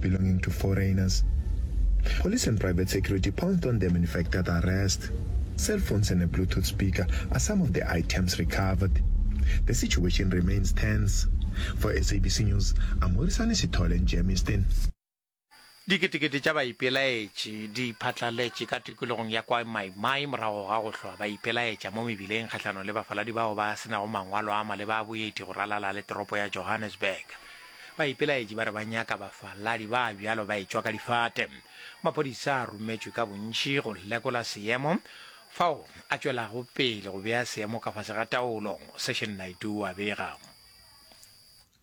belonging to foreigners. Police and private security pounced on them and effected arrest. Cell phones and a Bluetooth speaker are some of the items recovered. The situation remains tense. For SABC News, I'm Morisani Sithole in Germiston. Diketekete tša baipelaetši di phatlaletše ka tikologong ya kwa Mai Mai morago ga go hlwa ba ipelaetša mo mebileng kgahlanong le bafaladi bao ba se nago mangwalo a maleba a boeti go ralala le toropo ya Johannesburg. Baipelaetši ba re ba nyaka bafaladi ba bjalo ba etšwa ka difate. Maphodisa a rometšwe ka bontši go lekola seemo fao a tšwelago pele go bea seemo ka fase ga taolo, Session Naidoo a bega.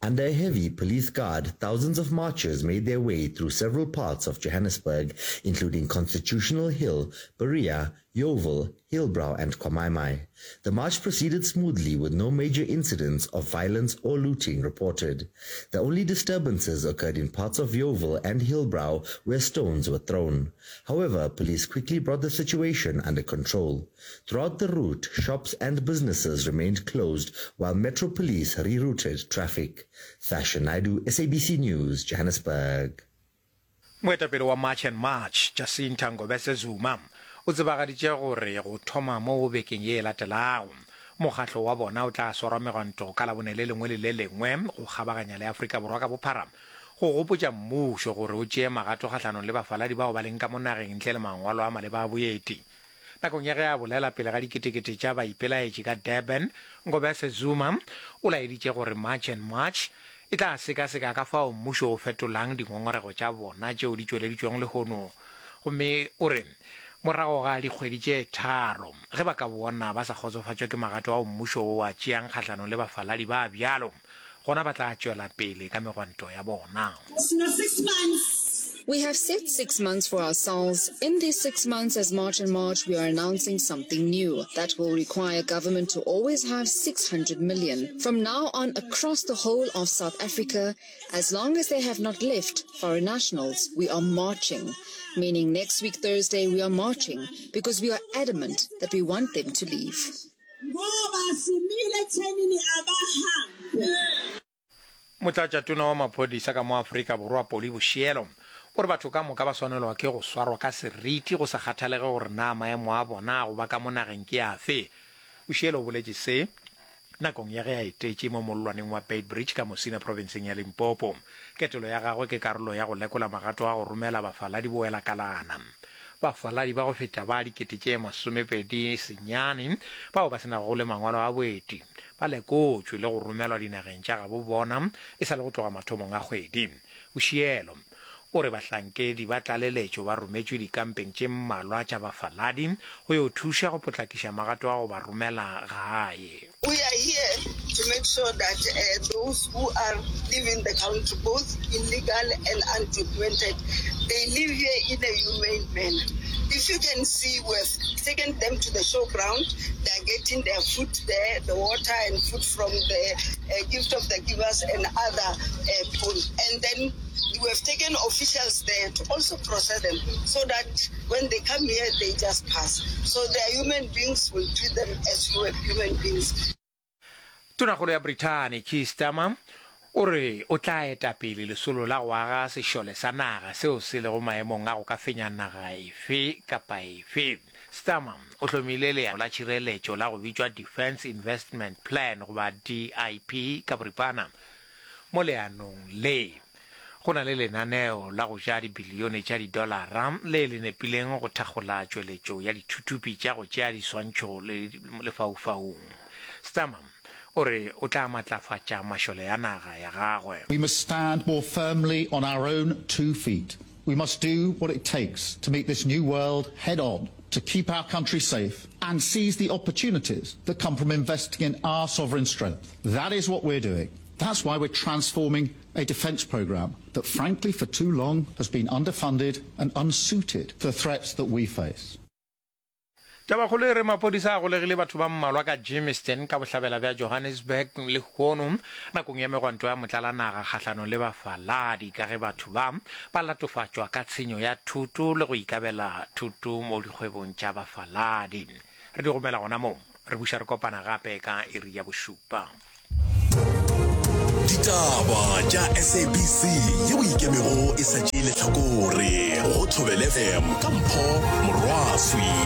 Under a heavy police guard, thousands of marchers made their way through several parts of Johannesburg, including Constitutional Hill, Berea, Yeoville, Hillbrow and KwaMai-Mai. The march proceeded smoothly with no major incidents of violence or looting reported. The only disturbances occurred in parts of Yeoville and Hillbrow where stones were thrown. However, police quickly brought the situation under control. Throughout the route, shops and businesses remained closed while Metro Police rerouted traffic. Thasha Naidu, SABC News, Johannesburg. Moetapele wa March and March, Jacinta Ngobese Zuma, o tsebagaditše gore go thoma mo bekeng ye e latelago, mokgatlo wa bona o tla swarwa megwanto ka Labone le lengwe le le lengwe go kgabaganya le Afrika Borwa ka bophara go gopotša mmušo gore o tšee magato kgahlanong le bafaladi bao ba leng ka mo nageng ntle le mangwalo a maleba a boeti. Nakong ya ge a bolela pele ga diketekete tša baipelaetši ka Durban, Ngobese Zuma o laeditše gore March and March e tla sekaseka ka fao mmušo o fetolang dingongorego tša bona tšeo di tšweleditšwego lehono gomme o re morago ga dikgwedi tše tharo ge ba ka bona ba sa kgotsofatšwe ke magato ao mmušo o a tšeang kgahlanong le bafaladi ba bjalo gona ba tla tšwela pele ka megwanto ya bona. We have set six months for ourselves. In these six months as March and March we are announcing something new that will require government to always have 600 million. From now on across the whole of South Africa, as long as they have not left foreign nationals, we are marching. Meaning next week Thursday we are marching because we are adamant that we want them to leave. Ngoba simile ekuthenini abahambe. Motlatšatona wa maphodisa ka mo Afrika Borwa Polly Boshielo o re batho ka moka ba swanelwa ke go swarwa ka seriti go sa kgathalege gore na maemo a bona a go ba ka mo nageng ke afe. Boshielo o boletše se nakong ya ge a etetše mo mollwaneng wa Beitbridge ka Musina profenseng ya Limpopo. Ketelo ya gagwe ke karolo ya go lekola magato a go romela bafaladi boela kalana. Bafaladi ba go feta ba 29,000 bao ba se nago le mangwalo a boeti ba lekotšwe le go romelwa dinageng tša gabo bona e sa le go tloga mathomong a kgwedi. Boshielo o re bahlankedi ba tlaleletšo ba rometšwe dikampeng tše mmalwa tša bafaladi go yo thuša go potlakiša magato a go ba romela gae. We are here to make sure that those who are leaving the country, both illegal and undocumented, they leave here in a humane manner. If you can see, we have taken them to the show ground. They are getting their food there, the water and food from the uh, gift of the givers and other uh, people. And then we have taken officials there to also process them so that when they come here, they just pass. So they are human beings, we'll treat them as human beings. Tonakgolo ya Brithani Keir Starmer o re o tla eta pele lesolo la go aga sešole sa naga seo se lego maemong a go ka fenya naga efe kapa efe. Starmer o hlomile leano la tšhireletšo la go bitšwa Defence Investment Plan goba DIP ka boripana. Mo leanong le, go na le lenaneo la go ja dibilione tša didolara le le nepileng go thakgola tšweletšo ya dithuthupi tša go tšea diswantšho lefaufaung. Starmer o re o tla matlafatša mašole a naga ya gagwe. We must stand more firmly on our own two feet. We must do what it takes to meet this new world head on, to keep our country safe and seize the opportunities that come from investing in our sovereign strength. That is what we're doing. That's why we're transforming a defence programme that frankly for too long has been underfunded and unsuited to the threats that we face. Tabakgolo e re maphodisa a golegile batho ba mmalwa ka Germiston ka bohlabela bja Johannesburg lehono nakong ya megwanto ya motlalanaga kgahlanong le bafaladi ka ge batho ba ba latofatšwa ka tshenyo ya thoto le go ikabela thoto mo dikgwebong tša bafaladi. Re di gomela gona moo, re buša re kopana gape ka iri ya bošupa. Ditaba tša SABC yeo e ikemego e sa tšee lehlakore go Thobela FM ka Mpho Morwaswi.